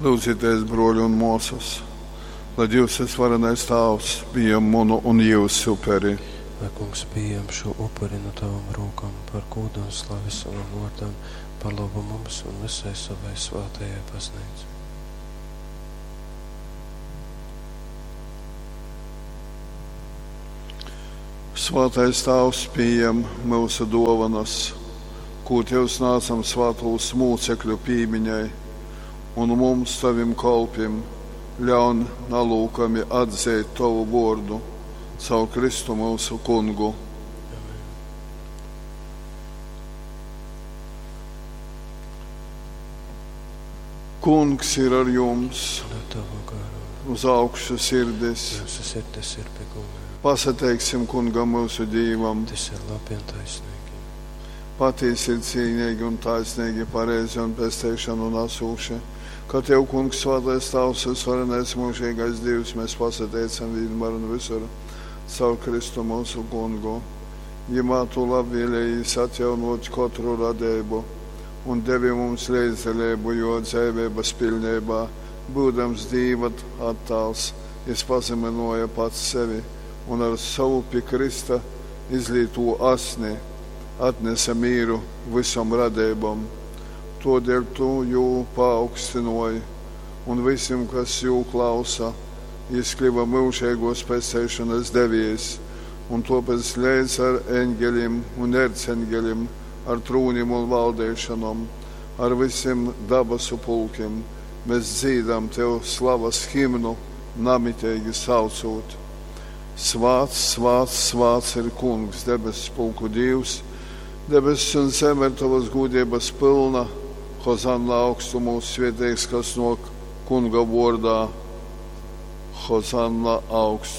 Lyudzitēs, bruoļi un muosys, lai Dīvs Vysvarenais Tāvs pījam munu un jyusu uperi. Lai Kungs pījam šū upuri nu tavom rūkom par gūdu un slavi sovam vōrdam, par lobu mums un vysai sovai svātajai Bazneicai. Svātais Tāvs pījam myusu duovanas, kū Tev snādzam svātūs mūcekļu pīmiņai, un mums, Tovim kolpim, ļaun nalūkami atzeit Tovu vuordu caur Kristu myusu Kungu. Amen. Kungs ir ar jums, Un ar tavu garu. uz augšu sirdis. Mūsu sirdis ir pie Kunga. Pasateiksim Kungam mūsu Dīvam. Tas ir labi un taisnīgi. Patiesi ir cīnīgi un taisnīgi, pareizi un pestīšanu nesūši. Ka Tev, Kungs, svētais Tavs, visvarenais mūžīgais Dievs, mēs pasateicam vienmēr un visur caur Kristu mūsu Kungu. Jimā Tu labvēlējies atjaunot katru radību un devi mums līdzdalību, jo dzīvības pilnībā, būdams Dīva attāls, jis pazeminoja pats sevi un ar savu pie Krista izlīto asni atnesa mīru visom radībom. Todēļ tu jū paaugstinoji, un visiem, kas jū klausa, jis kļuva mūžīgos pestīšanas deviejs, un tāpēc līdz ar eņģeļiem un erceņģeļiem, ar trūnim un valdīšanom, ar visiem dabasu pulkiem, mēs dzīdam tev slavas himnu, namitīgi saucot. Svāts, svāts, svāts ir Kungs, debesu pulku Dievs, debesis un zeme ir tavas gudrības pilna. Hozanna augstumos svētīgs, kas nāk Kunga vārdā. Hozanna augstumos.